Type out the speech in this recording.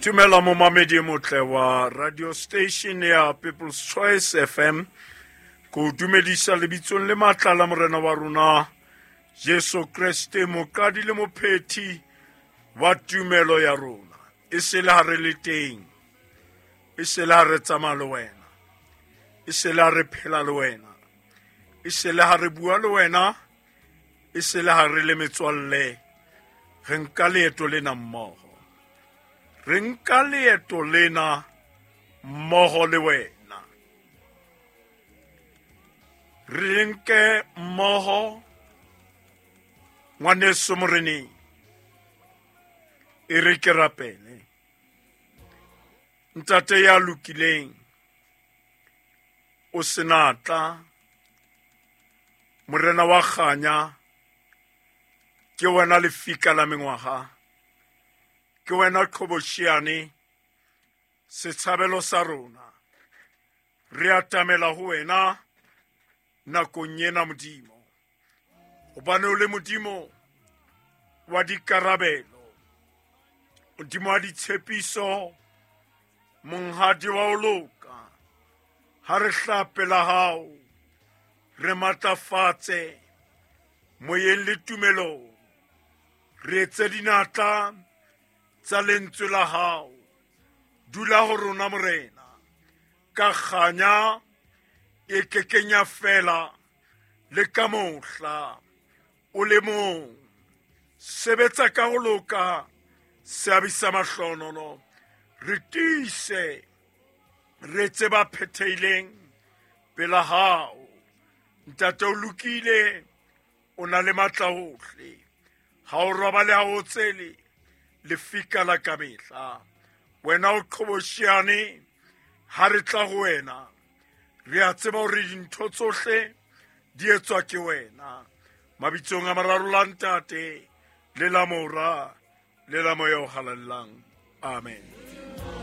Tumela momamedi e motle wa radio station ya People's Choice FM. Ko dumedisa lebitsong le matla la morena wa rona Jesu Kreste, moqadi le mophethi wa tumelo ya rona. E se le ha re le teng, e se le ha re tsamaya le wena, e se le ha re phela le wena, e se le ha re bua le wena, e se le ha re le metswalle. Re nka leeto lena mmoho, re nka leeto lena mmoho le wena, re nke mmoho ngwaneso moreneng. E re ke rapele. Ntate ya lokileng, o senatla, morena wa kganya, ke wena lefika la mengwaga, ke wena qhobosheane, setshabelo sa rona. Re atamela ho wena nakong ena, Modimo, hobane o le Modimo wa dikarabelo, Modimo wa ditshepiso, monghadi wa ho loka. Ha re hlape la hao, re matlafatse moyeng le tumelong, re etse dinatla tsa lentswe la hao. Dula ho rona, Morena, ka kganya e kekeng ya fela le ka mohla. O le mong, sebetsa ka ho loka, seabi sa mahlonolo. Re tiise, re etse ba phethehileng pela hao. Ntate, o lokile, o na le matla ohle, ha o robale, ha o tsele, lefika la kamehla. Wena o qhobosheane, ha re tla ho wena re a tseba hore dintho tsohle di etswa ke wena. Mabitsong a mararo, la Ntate le la Mora le la Moya o Halalelang, amen.